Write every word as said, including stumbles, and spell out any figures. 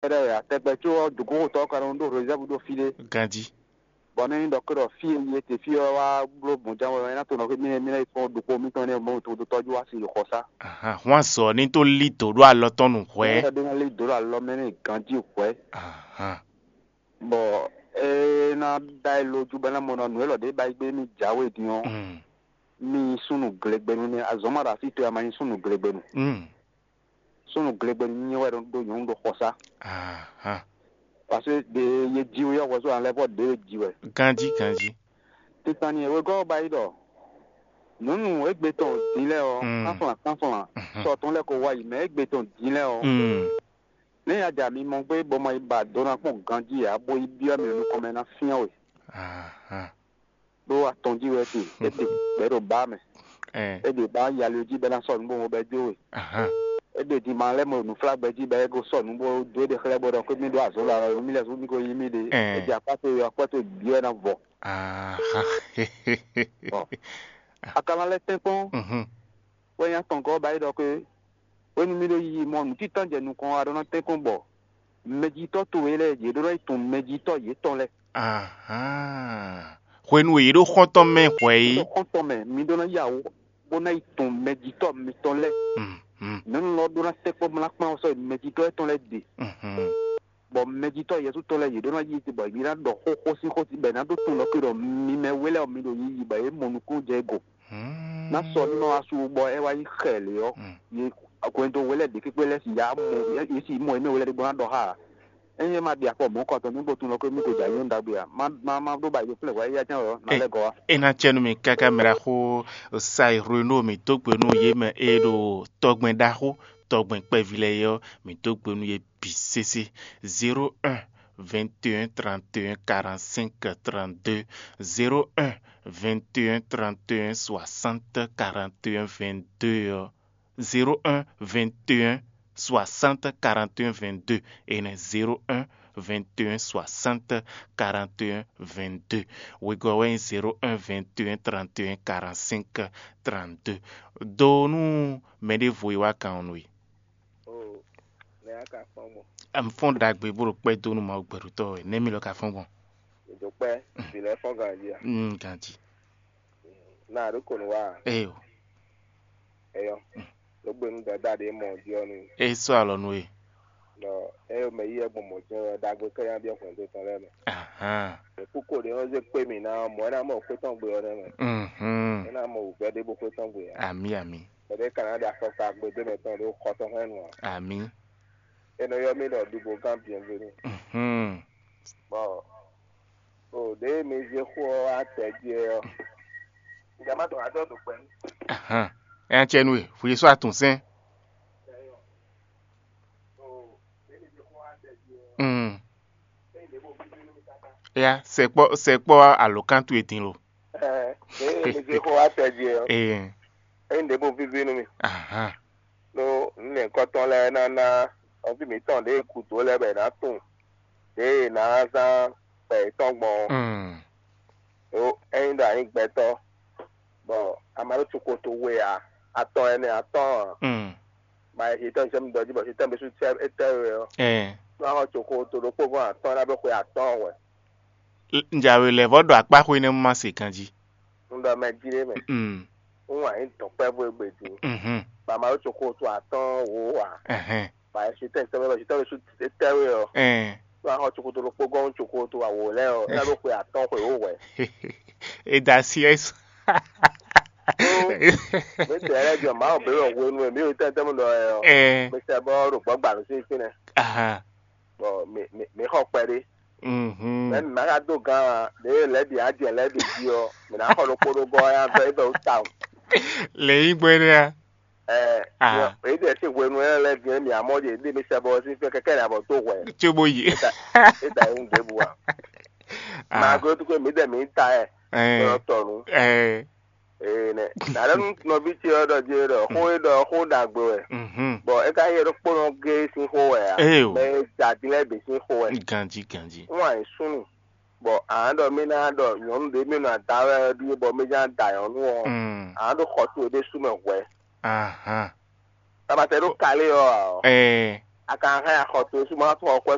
ɖɛ wɛ atɛgbɛ có ɔ́, dǒgóhotɔ́ ɔ́ ka nɔ ɖó rézɛ́vu ɖó fí ɖé. Ganjí. Bɔ nɛ́ nyí ɖɔ kó ɖɔ fí e yě te fí ɔ́ wá bló gbɔn ján wɛ é ná to nɔ xwé mì é ná yi kpɔ́n ɖokpó mítɔn énɛ́ mɔ to tɔ́jú wá sin ɖo xɔsá. Ahán, hwan azɔ ní tó lí dǒ ɖó alɔ tɔn nú hwɛ̌. Ɛ ɖé ná lé dǒ ɖo alɔ mɛ n'i ganjí hwɛ̌. Ahán. Bɔ é ná ɖá e lójú bɔ é ná mɔ ɖɔ nǔ élɔ́ ɖě ba yi gbé mì jǎwe din ɔ́, Mm. mì nyí súnnu glegbenu nɛ́. Azɔ̌ ma ɖo así towe a ma nyí súnnu glegbenu. Mm. Súnnu glegbenu nyí wɛ ɖó nyɔ̌nu ɖo xɔsá. Ahán. Parce que ɖe ye ji wɛ ɔ́, hwɛzó an lɛ́ vɔ ɖě ye ji wɛ. Ganjí, ganjí. Titan ni wegɔ́ ɔ́ ba yi ɖɔ nyɔ̌nu égbé tɔn din lɛ́ɛ ɔ́, Mm. kánflán kánflán, Mhm. sɔ tɔn lɛ́ ko wá yi, mɛ égbé tɔn din lɛ́ɛ ɔ́, Mm. nɛ́ ya ja mi mɔ gbé bɔ ma yi ba do ná kpɔ́n ganjí ǎ, bó yi byɔ́ mì nukɔn mɛ ná fyán we. Ahán. Ɖó atɔn jí wɛ te, é ɖe gbɛ̌ ɖo bá mɛ. Ɛn. É ɖe bá yali jí bɛ ná sɔ nǔ bó mo bɛ jó we. Ahán. É ɖe din ma lɛ́ mɔ nǔflágbɛ jí bɛ é ko sɔ nǔ bó dó é ɖe xlɛ́ bó ɖɔ xwé mì ɖó azɔ̌ la ɔ́, mì lɛ́ zú mì ko yí mì ɖe. Ɛn. É jɛ akpá towe ɔ́, akpá towe bǐ wɛ ná vɔ. Ahán. Bɔ akala lɛ́ tɛ́nkpɔ́n Mhm. wɛ nyí atɔngɔ́ ba é ɖɔ xwé hwenu mì ɖo yiyi mɔ nǔtítɔ́ jɛ nukɔn wá ɖó ná tɛ́nkpɔ́n bɔ mɛjitɔ́ towe lɛ́ɛ yě ɖó ná yi tunwun mɛjitɔ́ yětɔn lɛ́ɛ. Ahán. Hwenu e yě ɖo xɔ́ntɔn mɛ hwɛ é. Ɖo xɔ́ntɔn mɛ, mi ɖó ná yá wǔ bó ná yi tunwun mɛjitɔ́ mitɔn lɛ́ɛ. Mhm. Nyɔ̌nu lɔ ɖó ná tɛ́ kpɔ́ mlá kpán ɔ́ sɔ́ yi mɛjitɔ́ étɔn lɛ́ɛ ɖe. Mhm. Bɔ mɛjitɔ́ Jezu tɔn lɛ́ɛ yě ɖó ná yi te bɔ yě ná ɖɔ xóxó sín xó bɔ è nǎ ɖó tunwun ɖɔ xwé ɖɔ mi mɛ we lɛ́ɛ ɔ́, mi ɖo yiyi bɔ yě mɔ nukúnnú jɛ go. Hmm. Ná sɔ nínɔ asu bɔ é wá nyí xɛ lě ɔ́, Hmm. yě hwɛndo we lɛ́ɛ ɖě kpékpé lɛ́ɛ si ya mɔ yě si mɔ yě mɛ we lɛ́ɛ ɖé bó ná ɖɔ xá ǎ. Ényí é ma ɖi afɔ mɔ̌ kɔtɔn nú bó tunwun ɖɔ xwé mì ko jɛ ayǐ ɖagbe ǎ, má má má ɖó ba yě ɖo flɛ́ hwɛ éyɛ́ jɛ́n wɛ ɔ́, ná Ɛ- lɛ́ gɔ́ wá. É ná cɛ nú mì káká mɛ ɖaxó Sairúnó mǐ dó gbe nú yě mɛ e ɖo tɔgbɛn ɖaxó tɔgbɛn kpɛví lɛ́ɛ é ɔ́, mǐ dó gbe nú yě bǐ sésé. Zéro un, vingt et un, trente et un, quarante-cinq, trente-deux, zéro un, vingt et un, trente et un, soixante, quarante et un, vingt-deux ɔ́. Zéro un, vingt et un, soixante, quarante et un, vingt-deux. Énɛ́ zéro un, vingt et un, soixante, quarante et un, vingt-deux. Wegɔ́ wɛ nyí zéro un, vingt et un, trente et un, quarante-cinq, trente-deux. Do nú mɛɖěvo e wá kan ɔ́ nú we. Oo, nɛ̌ a ka fɔ́n gbɔn? Un fɔ́n ɖagbe bó ɖo kpɛ́ dó nú Mawu gbɛɖutɔ́ wɛ. Nɛ̌ mi lɔ ka fɔ́n gbɔn? È dǒ kpɛ́, vǐ lɛ́ɛ fɔ́n ganjí a? Mm, ganjí. Nà ɖó kò nú wa a? Ee o. Eyɔ. Ló gbe nú dada ɖě mɔ jí ɔ́ nú. É sɔ́ alɔ nú we. Ɖɔ é mɛ yí wɛ gbɔn mɔ̌ jɛ́n wɛ ɖagbe kɛ́ nya byɔ́ hwɛndo tɔn lɛ́ɛ mɛ. Ahán. Ɖě kúkú ɖě nɔ zé kpé mì ná ɔ́, mɔ̌ é ná mɔ xwé tɔn gbe ɔ́ nɛ́ mɛ. Mhm. É ná mɔ wǔgbɛ́ ɖěbǔ xwé tɔn gbe ǎ. Amǐ, amǐ. Kpɛɖé ka ná ɖe afɔkpa gbe dó mɛ tɔn ɖó xɔ tɔn hɛn nu ǎ. Amǐ. É nɔ ylɔ́ mì ɖɔ ɖubo gán biɛnvenu. Mhm. Bɔ o ɖě mi zé xó ɔ́ wá tɛ jí é ɔ́, ǹjẹ́ má dɔn adɔ́ ɖo gbɛ nú. Ahán. É ná cɛ nú we, hwi sɔ́ atun sɛn. Mm. Ya, sɛkpɔ sɛkpɔ alǒkan towe din lo. Ɛ, ɖě mi zé xó wá tɛ jí é ɔ́, Ee. É nyí ɖěbǔ víví nú mì. Ahán. Ɖó nǔ nyɛ̌kɔ́tɔn lɛ́ɛ ná ná nɔví mǐtɔn ɖě gǔdo lɛ́ɛ bɔ è nǎ tunwun ɖě è nǎ zán gbɛ yětɔn gbɔn ɔ́. Mm. Ɖó ényí ɖɔ a nyǐ gbɛtɔ́, bɔ a ma ɖó cukotogwe ǎ, atɔn ɛnɛ atɔ́ɔ́n ǎ, Mm. ma yi hǐtɔn jɛ mi ɖɔ jí bɔ hǐtɔn bǐ sú tɛ é tɛ we ɔ́, Ɛɛ. nú a xɔ cokoto ɖokpó gɔ́n atɔ́ɔ́n ná ɖó xwe atɔ́ɔ́n hwɛ̌. Njawe lɛ́ vɔ ɖo akpá xwe nɛ́ ma se ganjí. Un ɖɔ mɛ jí ɖé mɛ. Mm. Un wǎn nyí dɔ̌nkpɛvú e gbe din. Mhm. Bɔ a ma ɖó cokoto atɔ́ɔ́n wǒ ǎ. Ɛhɛn. Bɔ a yi sú tɛn tɛnmɛ bɔ hǐtɔn bǐ sú tɛ we ɔ́. Ɛɛ. Nú a xɔ cokoto ɖokpó gɔ́n cokoto awǒ lɛ́ɛ ɔ́, é ná ɖó xwe atɔ́ɔ́n xwe wǒ hwɛ̌. E da asi ɛ sɔ. Mǐ tɛ lɛ́ɛ jɔ Mawu bǐ wɛ hwenu e mǐ ɖo tɛ́ntɛ́n ɖɔ wɛ ɔ́, Ɛɛ. mǐ sɛ bɔ ɖo gbɔ̌gbanu sín fínɛ́, Ahan. Bɔ mǐ mǐ mǐ xɔ kpɛɖé. Mhm. Mɛ̌ mǐ ma ka dó gán ǎ, ɖěe lɛ̌ ɖi ajɛ lɛ̌ ɖi jí ɔ́, mǐ ná xɔ ɖokpó ɖó gɔ́ ɔ́, é vɛ́ wú tawun. Lě nyí gbɛ́ nɛ́ a? Ɛɛ, Ah. Mǐ- mǐ ɖe sín hwenu énɛ́ lɛ́ɛ din ɔ́, mǐ amɔ́ ɖe ɖe mǐ sɛ bɔ sín fɛ́ kɛkɛ́ nya bɔ dó hwɛ̌. Tso bó yi. É ta é ta é ŋu ɖěbǔ ǎ. Ah. Mǎgótúkwe mǐ ɖɛ mǐ ta ɛ Ɛɛ. Tɔ nǔ. Ɛɛ. Ee nɛ. Nǎ ɖɔ nú nɔví ce ɔ́ ɖɔ jí é ɖɔ xó e ɖɔ ɔ́, xó ɖagbe wɛ. Mhm. Bɔ é ka nyí ɖokpónɔ géé sín xó wɛ ǎ. Ee o. Mɛ e ja din lɛ́ɛ bǐ sín xó wɛ. Ganjí, ganjí. Wọ́n àyè súnnu. Bɔ à ń ɖɔ mí ná ɖɔ nyɔ̌nu ɖě mí nɔ ada wɛ ɔ́ ɖíe bɔ mí ná da nyɔ̌nu ɔ́, Mm. À ń ɖo xɔ towe ɖésú mɛ hwɛ̌. Ahan. Tabatɛ ɖo kalé ɔ́ ǎ ɔ́, Ɛɛ. A ka hɛn axɔ towe sú ma tún xɔ xwɛ